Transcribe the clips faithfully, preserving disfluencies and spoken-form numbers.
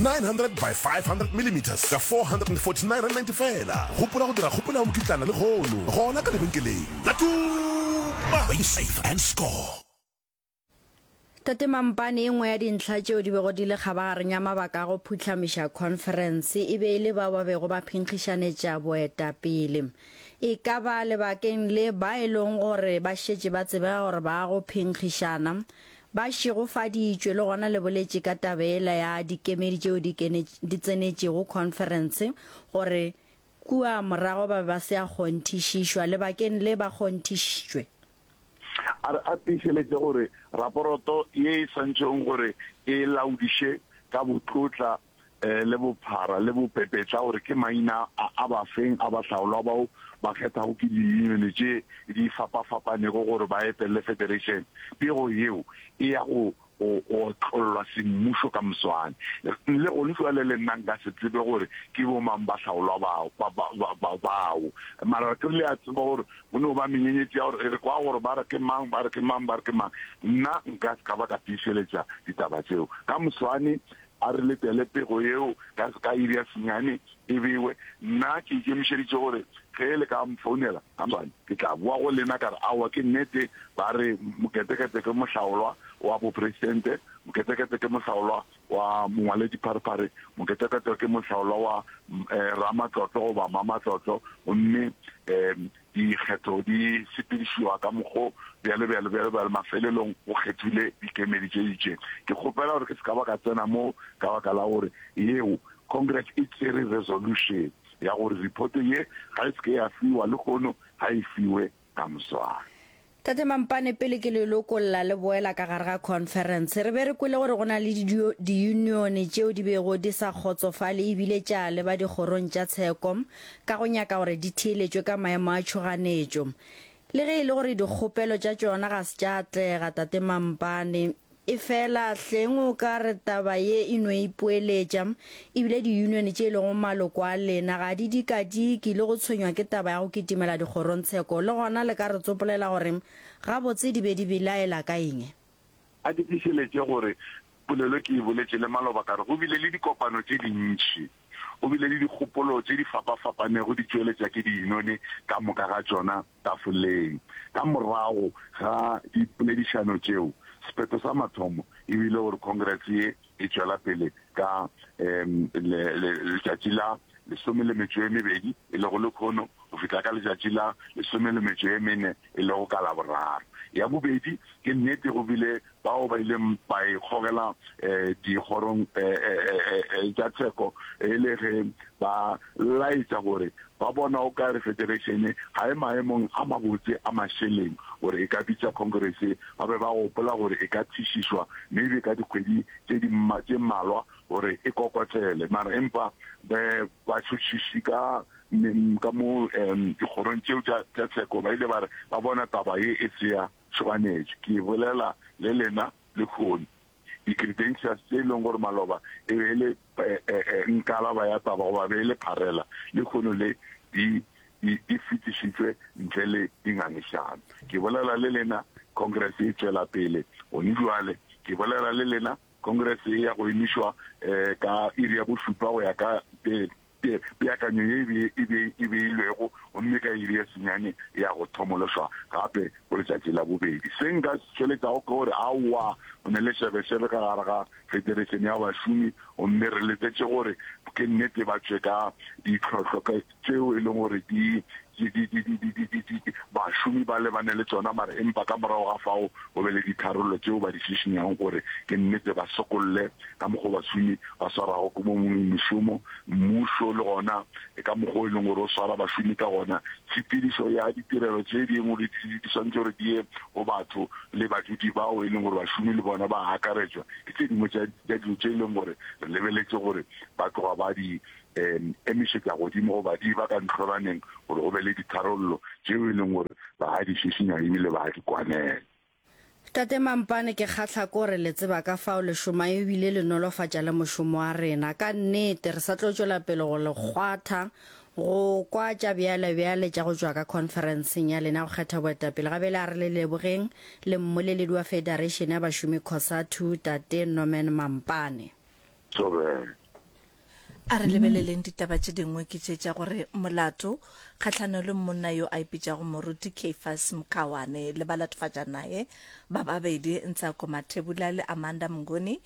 nine hundred by five hundred millimeters ka four hundred and forty nine rand ninety fela. Gopola go dira kgopelo ya mokitlana lehono gona ka lebenkeleng la Tuma, where you save and score. Tate Mampane, e nngwe ya dintlha tšeo di bego di le kgabagareng ya mabaka a go phuhlamiša khonferense e be e le bao ba bego ba phenkgišanetša boetapele. E ka ba lebakeng le ba e lego gore ba šetše ba tsebega gore ba go phenkgišana ba šegofaditšwe, le gona le boletše ka taba yela ya dikemedi tšeo di di tsenetšego khonferense gore kua morago ba be ba se a kgonthišišwa, lebakeng le ba kgonthišitšwe. A re a tiišeletše gore raporoto ye e swantšego gore e laodiše ka botlotla le bophara le bopepetla gore ke maina a a bafeng a bahlaolwa bao ba kgethago ke diyunione tše di fapafapanego gore ba etelele federation. Pego yeo e ya go go otlollwa semmušo ka moswane. Le gone jwale le nna nka se tsebe gore ke bomang bahlaolwa bao, ba, ba, ba, ba, bao. Mara ke re le a tseba gore go no ba menyenyetši ya gore re kwa gore ba re ke mang, ba re ke mang, ba re ke mang. Nna nka se ka ba ka tiišeletša ditaba tšeo. Ka moswane a re letele pego yeo ka, ka iri ya senyane e bewe. Nna ke ikemišeditše gore ge le ka mfounela ka moswane, ke tla boa go lena ka re, Aowa, ke nnete, ba re Moketekete ke mohlaolwa wa bopresidente, Moketekete ke mohlaolwa wa mongwaledipharephare, Moketekete ke mohlaolwa wa ramatlotlo goba mamatlotlo, gomme um dikgetho di sepedišiwa ka mokgo bjalo bjalo bjalo bjalo, mafelelong go kgethile dikemedi tše itšeng. Ke kgopela gore ke se ka ba ka tsena mo ka baka la gore yeo Congress e tšere resolution ya gore report ye ga e se ke ya fiwa lehono, ga e fiwe ka moswane. Tate Mampane, pele ke le lokolla le boela ka gare ga khonferense, re be re kwele gore go na le diyunione tšeo di bego di sa kgotsofale ebile tša leba dikgorong tša tsheko ka go nyaka gore di theeletšwe ka maemo a tšhoganetšo. Le ge e le gore dikgopelo tša tšona ga se tša atlega, Tate Mampane, Efela hleng o ka re taba ye e no ipoeletša, ebile diyunione tše e lego maloko a lena ga di dikadike le go tshwenywa ke taba ya go kitimela dikgorongtsheko, le gona le ka re tsopolela gore gabotse di be di belaela ka eng? A ke tiišeletše gore polelo ke e boletše le maloba ka re go bile le dikopano tše dintši, go bile le dikgopolo tše di fapafapanego di tšweletša ke diyunione ka moka ga tšona tafoleng. Ka morago ga dipoledišano tšeo, sephetho sa mathomo e bile gore Congress ye e tšwela pele ka letšatši la lesome le metšo e mebedi, e lego lekhono, go fihla ka letšatši la lesome le metšo e mene, e lego ka Laboraro. Ya bobedi, ke nnete go bile bao ba ileng ba ikgogela dikgorong tša tsheko e le ge ba laetša gore ba bona o ka re federation ga e maemong a mabotse a mašeleng gore e ka bitša Congress. Ba be ba gopola gore e ka thišišwa maybe ka dikgwedi tše di tše mmalwa gore e kokotlele, mara empa batšhotšhiši ka ka mo dikgorong tšeo tša tša tsheko ba ile ba re ba bona taba ye e se ya tšhoganetšo. Ke bolela le lena lehono, di-credentials tše e leng gore maloba e be e le nkalaba ya taba goba be e le pharela, lehono le di di di fetišitšwe ntle le dingangišano. Ke bolela le lena, Congress e tšwela pele gone bjale. Ke bolela le lena, Congress e ya go emišwa ka iri ya bošupa go ya ka peakanyo ye e beilwego, gomme ka iri ya senyane e ya go thomološwa gape go letšatši la bobedi. Se nka se tšweletšago ke gore aowa, go ne le šebešebe ka gare ga Federation ya Bašomi, gomme re letetše gore ke nnete ba tšwe ka ditlhohlo tšeo e leng gore di di di di di di di di di bašomi ba lebane le tšona, mara empa ka morago ga fao go be le ditharollo tšeo ba di šišinyago gore ke nnete ba sokolle ka mokgo bašomi ba swarago ke mo mešomo, mmušo le gona ka mokgo e leng gore o swara bašomi ka gona. Tshepedišo ya ditirelo tše dingwe di di swanetše gore di ye go batho le badudi bao e leng gore bašomi le bona ba akaretšwa, ke tše dingwe tša tša dilo tše e leng gore re lebeletše gore ba tloga ba di um emišetša godimo goba di ba ka ntlhoraneng gore go be le ditharollo tšeo e leng gore ba a di šišinya ebile ba a di kwanela. Tate Mampane, ke kgahla ke gore le tseba ka fao le šoma ebile le nolofatša le mošomo wa rena. Ka nnete, re sa tlo tšwela pele go le kgwatha go kwa tša bjalebjale tša go tšwa ka khonferenseng ya lena ya go kgetha boetapele. Ga bjale a re le lebogeng le mmoleledi wa Federation ya Bašomi Cosatu, Tate Norman Mampane. Thobela. A re lebeleleng ditaba tše dingwe ke tše tša gore molato kgahlano le monna yo a ipitšago Moruti Caiphus Mkhawane le balatofatša naye ba babedi Ntsako Mathebula le Amanda Mnguni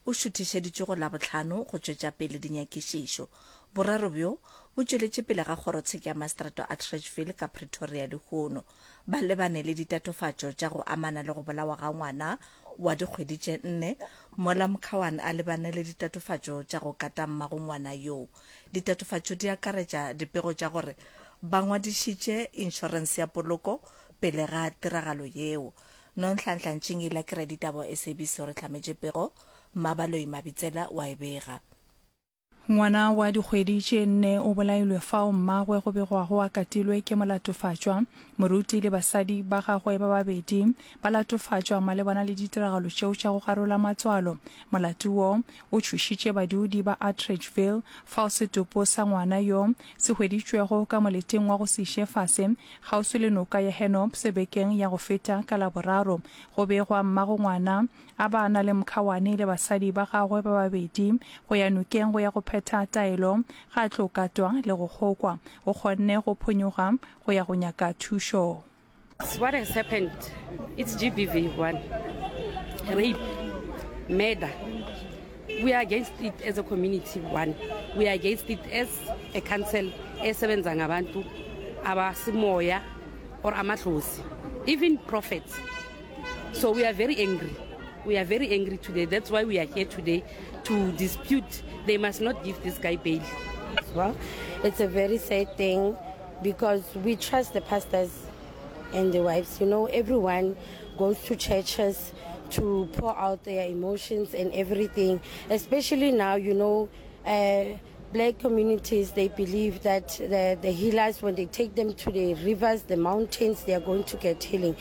o šuthišeditšwe go Labohlano go tšwetša pele dinyakišišo. Boraro bjo bo tšweletše pele ga kgorotsheko ya maseterata wa Atteridgeville ka Pretoria lehono. Ba lebane le ditatofatšo tša go amana le go bolawa ga ngwana wa dikgwedi tše nne mola Mkhawane a lebane le ditatofatšo tša go kata mmago ngwana yoo. Ditatofatšo di akaretša dipego tša gore ba ngwadišitše inšorense ya poloko pele ga tiragalo yeo. Nonhlanhla Ntšingila ke raditaba wa S A B C o re hlametše pego, Mmabaloi Mabitsela o a e bega. Ngwana wa dikgwedi tše nne o bolailwe fao mmagwe go begwago a katilwe ke molatofatšwa. Moruti le basadi ba gagwe ba babedi ba latofatšwa malebana le ditiragalo tšeo tša go garola matswalo. Molato wo o tšhošitše badudi ba Atteridgeville fao setopo sa ngwana yo se hweditšwego ka moleteng wa go se iše fase kgauswi le noka ya Hennops bekeng ya go feta ka Laboraro. Go begwa mmago ngwana a ba na le Mkhawane le basadi ba gagwe ba babedi go ya nokeng go ya go phetha taelo ga tlo katwa le go kgokwa. O kgonne go phonyoga go ya go nyaka thušo. What has happened? It's G B V one. Rape, murder. We are against it as a community, one. We are against it as a council esebenza ngabantu abasimoya or amadlozi, even prophets. So we are very angry. We are very angry today. That's why we are here today to dispute. They must not give this guy bail. Well, it's a very sad thing because we trust the pastors and the wives. You know, everyone goes to churches to pour out their emotions and everything. Especially now, you know, uh, black communities, they believe that the, the healers, when they take them to the rivers, the mountains, they are going to get healing.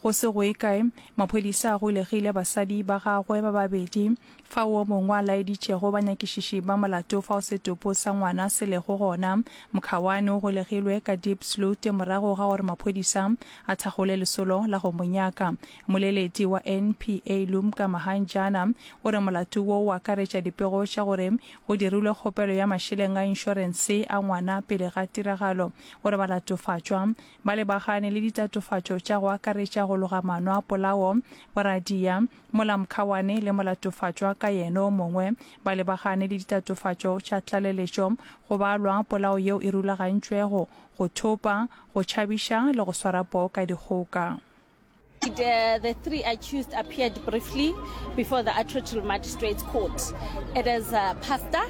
Go se go ye kae, maphodisa a golegile basadi ba gagwe ba babedi, fao wo mongwe a laeditšego banyakišiši ba molato fao setopo sa ngwana se lego gona. Mkhawane o golegilwe ka Diepsloot morago ga gore maphodisa a thakgole lesolo la go mo nyaka. Mmoleledi wa N P A Lumka Mahanjana o re molato wo o akaretša dipego tša gore go dirilwe kgopelo ya mašeleng a inšorense a ngwana pele ga tiragalo. O re balatofatšwa ba lebagane le ditatofatšo tša go akaretša go loga maano a polao, boradia, mola Mkhawane le molatofatšwa ka yena o mongwe ba lebagane le ditatofatšo tša tlaleletšo go balwa polao yeo e rulagantšwego, go thopa, go tšhabiša le go swara poo ka dikgoka. The, the three accused appeared briefly before the Atteridgeville Magistrates Court. It is a pastor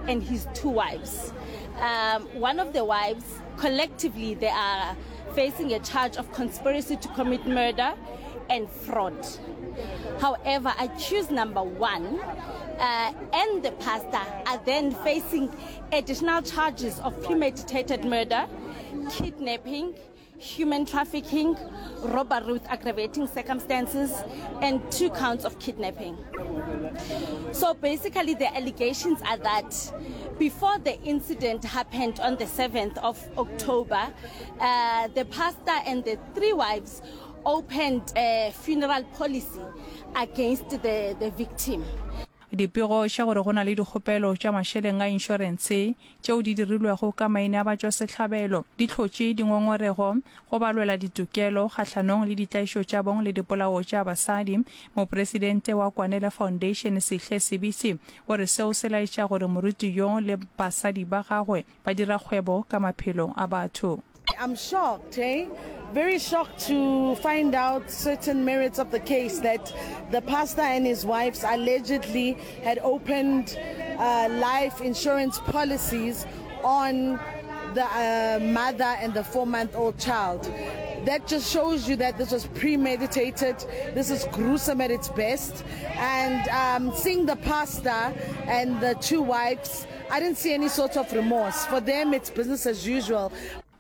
and his two wives. Um, one of the wives, collectively, they are facing a charge of conspiracy to commit murder and fraud. However, accused number one uh, and the pastor are then facing additional charges of premeditated murder, kidnapping, human trafficking, robbery with aggravating circumstances, and two counts of kidnapping. So basically, the allegations are that before the incident happened on the seventh of October, uh, the pastor and the three wives opened a funeral policy against the, the victim. Dipego tša gore go na le dikgopelo tša mašeleng a inšorense tšeo di dirilwego ka maina a batšwasehlabelo di hlotše dingongorego go balwela ditokelo kgahlanong le ditlaišo tša bong le dipolao tša basadi. Mopresidente wa Kwanele Foundation Sihle Sibisi o re seo se laetša gore moruti yo le basadi ba gagwe ba dira kgwebo ka maphelo a batho. I'm shocked, eh? Very shocked to find out certain merits of the case, that the pastor and his wives allegedly had opened uh, life insurance policies on the uh, mother and the four-month-old child. That just shows you that this was premeditated. This is gruesome at its best. And um, seeing the pastor and the two wives, I didn't see any sort of remorse. For them, it's business as usual.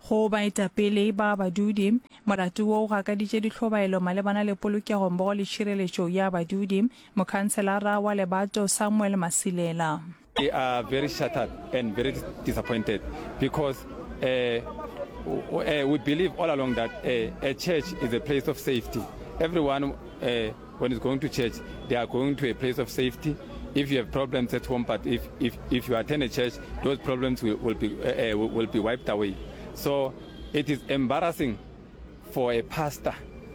Go baetapele ba badudi, molato wo o gakaditše dihlobaelo malebana le polokego mmogo le tšhireletšo ya badudi. Mokhanselara wa Lebato Samuel Masilela. We are very shattered and very disappointed because uh, uh, we believe all along that uh, a church is a place of safety. Everyone, uh, when is going to church, they are going to a place of safety. If you have problems at home, but if, if, if you attend a church, those problems will, will, be, uh, will be wiped away. So it is embarrassing for a pastor,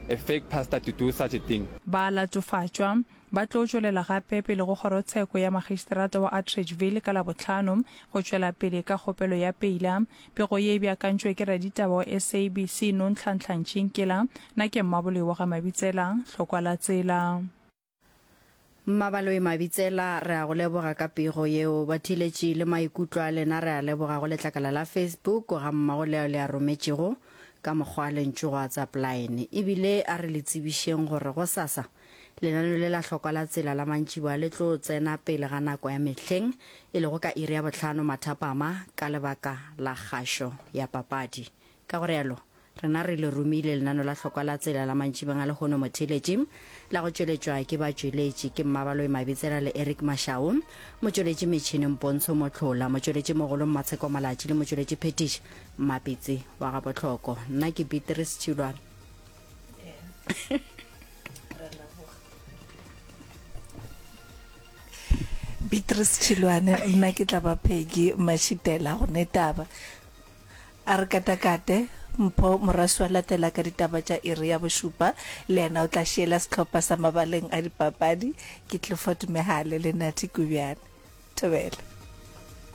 a fake pastor to do such a thing. Ba latofatšwa ba tlo tšwelela gape pele go kgorotsheko ya magistrata wa Atteridgeville ka Labohlano go tšwela pele ka kgopelo ya peila. Pego ye e beakantšwe ke raditaba wa S A B C Nonhlanhla Ntšinkela. Nna ke Mmaboloi wa ga Mabitsela, Hlokwa la Tsela. Mmabaloi Mabitsela, re a go leboga ka pego yeo. Batheeletši le maikutlo a lena re a leboga go letlakala la Facebook ga mmago le ao le a rometšego ka mokgwa wa lentšu go WhatsApp line. E bile a re le tsebišeng gore gosasa lenaneo le la Hlokwa la Tsela la mantšiboa le tlo tsena pele ga nako ya mehleng, e lego ka iri ya bohlano mathapama ka lebaka la kgašo ya papadi. Ka go realo, rena re le romile lenaneo la Hlokwa la Tsela la mantšibeng a lehono motheeletši, la go tšweletšwa ke batšweletši ke Mmabaloi Mabitsela le Eric Mashau, motšweletši metšhineng Pontsho Mohlola, motšweletši mogolo Mmatsheko Malatši le motšweletši phethiši Mmapitsi wa Gabohloko. Nna ke Beatrice Tšhilwane. Beatrice Tšhilwane, nna ke tla ba Peggy Mashitela go ne taba. A re katakate, Mpho Moraswi wa latela ka ditaba tša iri ya bošupa, le yena o tla šiela sehlopha sa mabaleng a dipapadi ke Clifford Mehale le Nathi Kubjane. Thobela.